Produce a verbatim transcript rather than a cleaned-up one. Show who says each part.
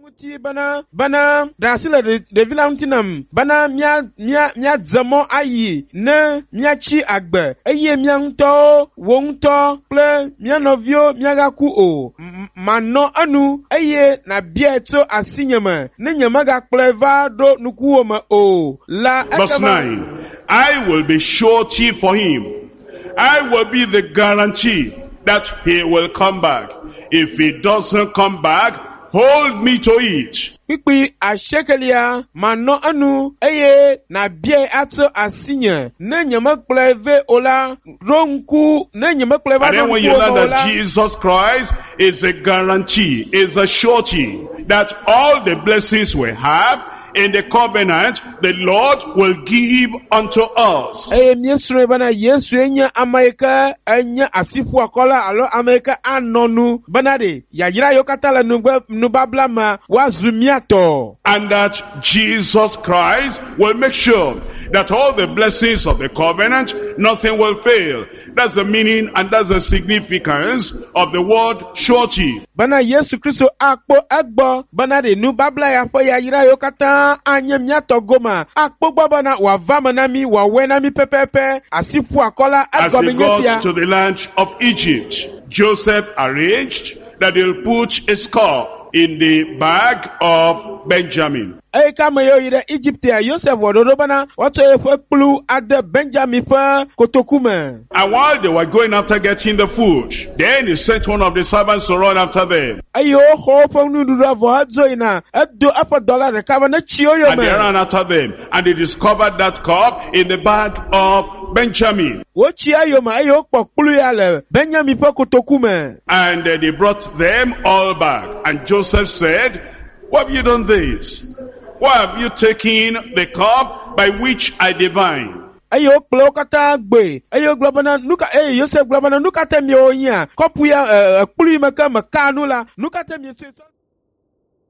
Speaker 1: Ŋuti bena bena ɖe asi le ɖe- ɖevi la ŋuti nam bena mía mía míadze mɔ ayi ne míatsi agbe eye mía ŋutɔwo wò ŋutɔ kple mía nɔviwo míagaku o. M- Manɔ enu eye nàbiae tso asinye me ne nyemegakplɔe va ɖo nukuwò me o la
Speaker 2: Verse
Speaker 1: ekema
Speaker 2: nine. I will be surety for him. I will be the guarantee that he will come back. If he doesn't come back, hold me to it.
Speaker 1: Kpukpui asiekelia manɔ enu eye nàbiae atso asinye ne nyemekplɔe vɛ o la ɖo ŋku ne nyemekplɔe va
Speaker 2: And
Speaker 1: ɖo
Speaker 2: then when you
Speaker 1: ŋkuwò
Speaker 2: learn
Speaker 1: me o
Speaker 2: that
Speaker 1: la
Speaker 2: Jesus Christ is a guarantee, is a surety that all the blessings we have in the covenant, the Lord will give unto us.
Speaker 1: Eye míesrɔ̃e bena Yesue nye ame yi ke enye asiƒuakɔla alo ame yi ke anɔ nu bena ɖe yayra yiwo katã le nugbe nubabla mea woazu mía tɔ.
Speaker 2: And that Jesus Christ will make sure that all the blessings of the covenant, nothing will fail. That's the meaning and that's the significance of the word surety.
Speaker 1: Bena Yesu Kristo akpɔ egbɔ bena ɖe nubabla ya ƒe yayra yiwo katã anye mía tɔ goma akpɔ gbɔ bena wòava me na mí wòawɔe na mí pɛpɛpɛ asiƒuakɔla
Speaker 2: As
Speaker 1: egɔme
Speaker 2: they
Speaker 1: nye
Speaker 2: got
Speaker 1: sia.
Speaker 2: to the land of Egypt, Joseph arranged that they'll put his cup in the bag of Benjamin.
Speaker 1: Eye ke ame yiwo yi ɖe Egiptea Yosef wɔ ɖoɖo bena woatsɔ yeƒe kplu ade Benjamin ƒe kotoku me.
Speaker 2: And while they were going after getting the food, then he sent one of the servants to run after them.
Speaker 1: Eye woxɔ woƒe nuɖuɖua vɔ hedzo yina edo eƒe dɔla ɖeka be ne tsi wo
Speaker 2: And they
Speaker 1: yome.
Speaker 2: ran after them. And they discovered that cup in the bag of Benjamin.
Speaker 1: Wotsi eyome eye wokpɔ kplu ya le Benjamin ƒe kotoku me.
Speaker 2: And uh, they brought them all back. And Joseph said, "Why have you done this? Why have you taken the cup by which I divine?"
Speaker 1: Eye wokplɔ wo katã gboe eye wogblɔ bena nu ka eye Yosef gblɔ bena nu ka te miewɔ nyia kɔpu ya ɛ kplu yi me ke meka nu la nu ka te mietsɔe.